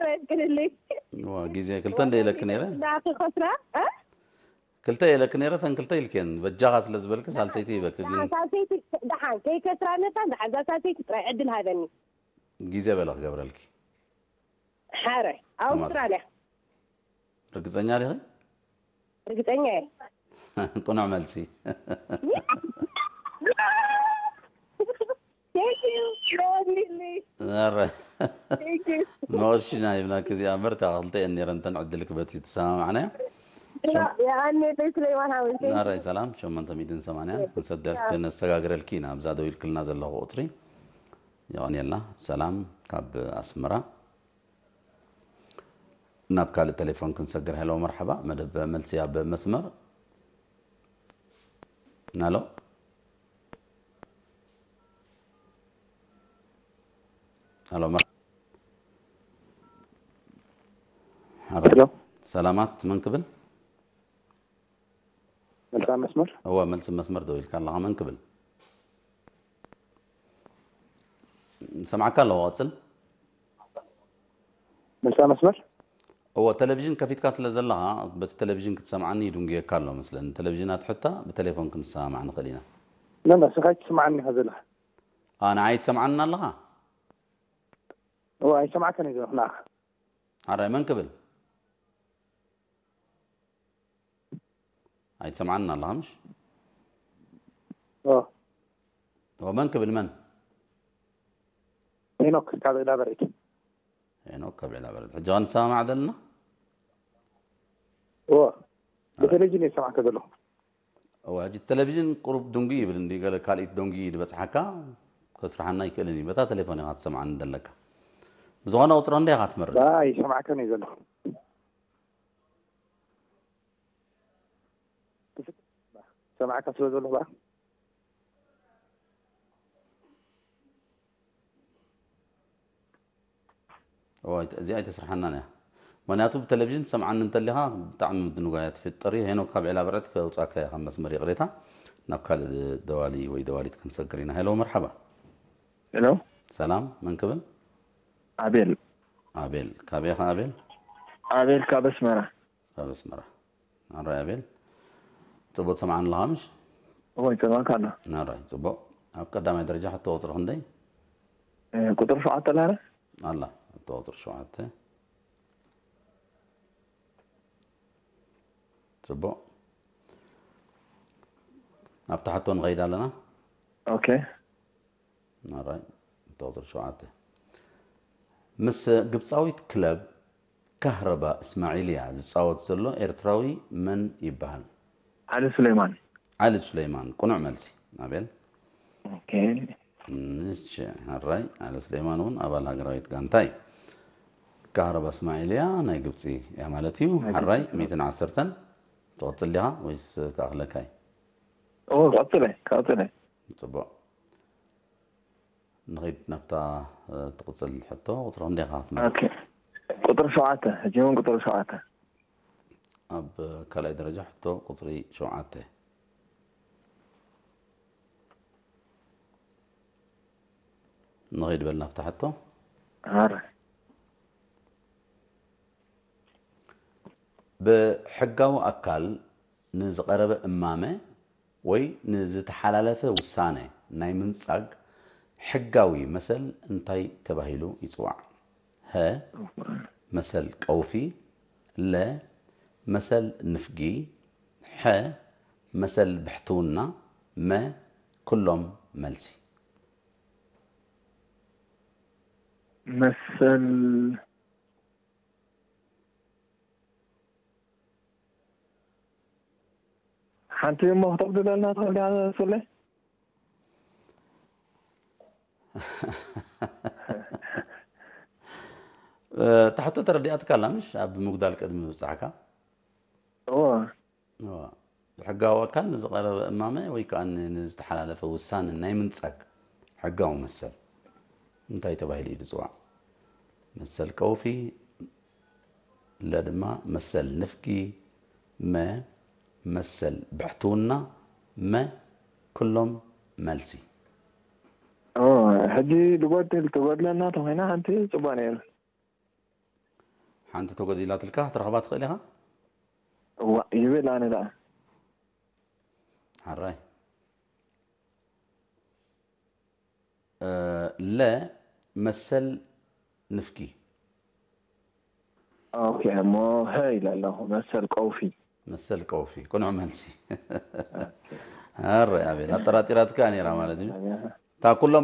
የመስግንልኝ። ዋ፣ ግዜ ክልተ እንደ ኢለክ ነይረ። ዳኺ ከስራ እ? ክልተ ኢለክ ነይረ፣ ተን ክልተ ኢልክየን። በጃኻ ስለ ዝበልክ ሳልሰይቲ ይበክ። ግን ደሓን ሳልሰይቲ ደሓን ከይከስራ ነታ ደሓን እዛ ሳልሰይቲ ጥራይ ዕድል ሃበኒ። ግዜ በለ ክገብረልኪ። ሓረ ኣውስትራልያ ርግጸኛ ዲኺ? ርግጸኛ እየ። ቅኑዕ መልሲ። Thank you. Lovely. ኧረ Thank you. መቐሽና ይብላክ እዚኣ እምበር፣ እታ ክልተ እየን ነይረን እተን ዕድልክ በቲ ተሰማማዕናዮ። የቐኔ ቤት ሱሌማን ሓወይ። Thank you. ናራይ ሰላም፣ ሸሞንተ ሚእትን ሰማንያን ክንሰደልክ ክነሰጋግረልኪ ኢና። ኣብዛ ደው ኢልክልና ዘለኹ ቁጽሪ የቐንየልና። ሰላም ካብ ኣስመራ። ናብ ካልእ ቴሌፎን ክንሰግር። ሄሎ መርሓባ፣ መደብ መልሲ ኣብ መስመር። ሄሎ ሄሎ መር- ሄሎ ሰላማት፣ መን ክብል? መልሳ መስመር እወ፣ መልሲ መስመር ደው ኢልካ ኣለኻ። መን ክብል? ሰምዓካ ኣለዎ፣ ቀጽል። መልሳ መስመር እወ፣ ቴሌቪዥን ከፊትካ ስለ ዘለኻ በቲ ቴሌቪዥን ክትሰምዓኒ ይድንጉየካ ኣሎ መስለኒ። ቴሌቪዥን ኣትሕታ ብቴሌፎን ክንሰማማዕ ንኽእል ኢና። ነ ንስኻ ትስምዓኒ ኢኻ ዘለኻ ኣ ንዓይ ትሰምዓኒ ኣለኻ? እወ ኣይሰማዕካን እየ ዘለኹ ንዓኻ ሓራይ መን ክብል? ኣይትሰምዓኒ ኣለኻ ምሽ? እወ እወ፣ መን ክብል መን? ሄኖክ ካብ ዒላ በርዒድ ሄኖክ ካብ ዒላ በርዒድ። ሕጂ ኸ ንሰማማዕ ዘለና? እወ ብቴሌቪዥን እየ ዝሰማዕካ ዘለኹ እወ፣ ሕጂ ቴሌቪዥን ቁሩብ ድንጉ ይብል እንዲ ገለ ካልኢት ደንጉ እዩ ዝበጽሓካ፣ ከስርሓና ኣይክእልን እዩ። በታ ቴሌፎን ኢኻ ትሰምዓኒ ዘለካ። ብዝኾነ ቁጽሪ ክንደይ ኢኻ ትመርጽ? ኣይሰማዕካን እየ ዘለኹ ሰማዕካ ስለ ዘለኹ በኣ እወ፣ እዚኣ ኣይተስርሓናን እያ። ምኽንያቱ ብቴሌቪዥን ትሰምዓኒ እንተሊኻ ብጣዕሚ ምድንጓይ እያ ትፍጥር። ሄኖክ ካብ ዒላ በርዕድ ከውጻካ እያ ካብ መስመር፣ ይቕሬታ። ናብ ካልእ ደዋሊ ወይ ደዋሊት ክንሰግር ኢና። ሄሎ መርሓባ። ሄሎ ሰላም፣ መን ክብል? ኣቤል ኣቤል። ካበይ ኢኻ ኣቤል? ኣቤል ካብ ኣስመራ ካብ ኣስመራ። ኣራይ ኣቤል፣ ጽቡቅ ትሰምዓኒ ኣለኻ ምሽ? እወ ይሰማዕካ ኣሎ ኣራይ ጽቡቅ። ኣብ ቀዳማይ ደረጃ ሕቶ ቁጽሪ ክንደይ? እ፣ ቁጥሪ ሸውዓተ ኣላ ኣላ? ሕቶ ቁጽሪ ሸውዓተ። ጽቡቅ። ኣብታ ሕቶ ንኸይድ ኣለና። ኦኬ ኣራይ ሕቶ ቁጽሪ ሸውዓተ። ምስ ግብጻዊት ክለብ ካህረባ እስማዒልያ ዝጻወት ዘሎ ኤርትራዊ መን ይበሃል? ዓሊ ሱሌማን ዓሊ ሱሌማን። ቅኑዕ መልሲ ኣቤል። ኦኬ እሺ፣ ሕራይ። ዓሊ ሱሌማን እውን ኣባል ሃገራዊት ጋንታ እዩ። ካህረባ እስማዒልያ ናይ ግብጺ እያ ማለት እዩ። ሕራይ። ሚእትን ዓሰርተን ትቕጽል ዲኻ ወይስ ክኣኽለካ እዩ? ኦ ቀጽለ ቀጽለ ጽቡቕ። ንኺድ ናብታ ትቕጽል ሕቶ። ቁጽሪ ክንደይ ኢኻ ክትመርጽ? ኦኬ ቁጥሪ ሸውዓተ ሕጂ እውን ቁጥሪ ሸውዓተ ኣብ ካልኣይ ደረጃ ሕቶ ቁጽሪ ሸውዓተ። ንኺድ በል ናብታ ሕቶ። ኣረ ብሕጋዊ ኣካል ንዝቐረበ እማመ ወይ ንዝተሓላለፈ ውሳነ ናይ ምንጻግ ሕጋዊ መሰል እንታይ ተባሂሉ ይጽዋዕ? ሀ፣ መሰል ቀውፊ፣ ለ፣ መሰል ንፍጊ፣ ሐ፣ መሰል ብሕትውና፣ መ፣ ኩሎም መልሲ። መሰል ሓንቲ እሞ ክተብድለልና ትኽእል ዲኻ ሱሌ? ታሕቶ ተረዲኣትካ ኣላ ምሽ? ኣብ ምጉዳል ቅድሚ ምብጻሕካ እዎ እዋ፣ ብሕጋዊ ኣካል ንዝቐረበ እማመ ወይ ከዓ ን- ንዝተሓላለፈ ውሳነ ናይ ምንጻግ ሕጋዊ መሰል እንታይ ተባሂሉ እዩ ዝፅዋዕ? መሰል ቀውፊ፣ ለ ድማ መሰል ንፍጊ፣ መ መሰል ብሕትውና፣ መ ኩሎም መልሲ። ኦ፣ ሕጂ ድጎድል ትጎድለና ተኾይና ሓንቲ ጽቡቕ ነይሩ። ሓንቲ ተጎዲላትልካ ክትረኽባ ትኽእል ኢኻ። እዋ ይብል ኣነ ደኣ። ሓራይ ለ መሰል ንፍቂ። ኦኬ እሞ ሀ ኢለ ኣለኹ። መሰል ቀውፊ። መሰል ቀውፊ ቅኑዕ መልሲ። ኣረ ኣቤል ኣጠራጢራትካ ነይራ ማለት እዩ። እታ ኩሎም